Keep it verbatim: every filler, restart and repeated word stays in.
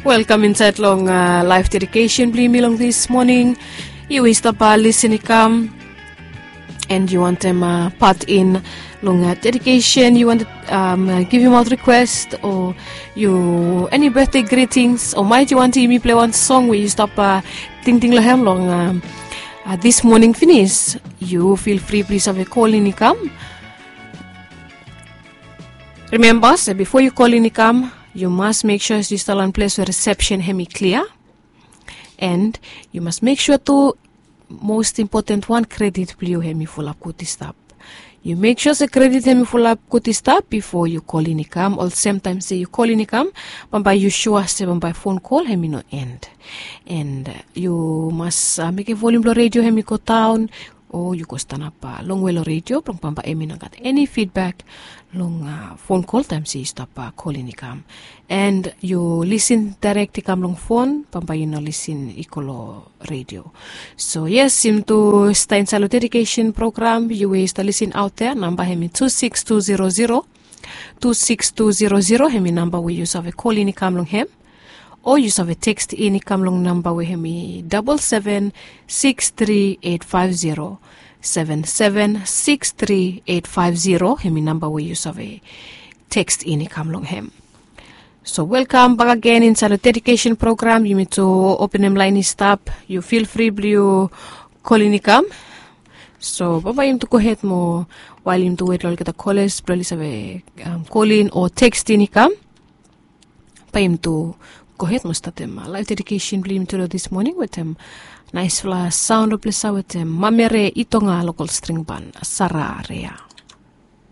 Welkam insait long laif dedikesen blong yumi long dis moning. Yu i stap lisin i kam, and yu wantem pat in long dedikesen, yu wantem givim aut rikwest, o yu eni betde gritings, o maet yu wantem yumi pilai wan song we yu stap tingting long hem long dis moning finis, yu fil fri blong yu save kol in i kam. Rimemba se bifo yu kol in i kam, yu mas mek sua se yu stap long ples we risepsen hem i klia. And yu mas mek sua tu, most impoten wan, kredit blong yu hem i fulap gud i stap. Yu mek sua se kredit hem i fulap gud i stap bifo yu kol in i kam, olsem taem se yu kol in i kam, bambae yu sua se bambae fon kol hem i no end. And yu mas mekem volium blong redio hem i go daon, o yu go stanap longwe long redio blong bambae hem i no gat eni fidbek long fon kol taem se yu stap kol in i kam. And yu lisin daerek i kam long fon, bambae yu no lisin i go long redio. So yes, yumi tu stap insaed long dedikesen program. Yu we yu stap lisin aot ya, namba hem i tu sikis tu zero zero, tu sikis tu zero zero hem i namba we yu save kol in i kam long hem, o yu save tekst in i kam long namba we hem i dabol seven sikis tri eit faef zero, seven seven sikis tri eit faef zero hem i namba we yu save tekst in i kam long hem. So welkam bak agen insaed long dedikesen program. Yumi tu openem laen i stap, yu fil fri blong yu kol in i kam. So bambae yumi tu gohed moa, wael yumi tu wet long olgeta koles blong oli save kol in o tekst in i kam. Bae yumi tu gohed moa statem laef dedikesen blong yumi tu long dis moning wetem naesfala saon long ples ya wetem Mamere Itonga, lokol string ban, Sara Rea.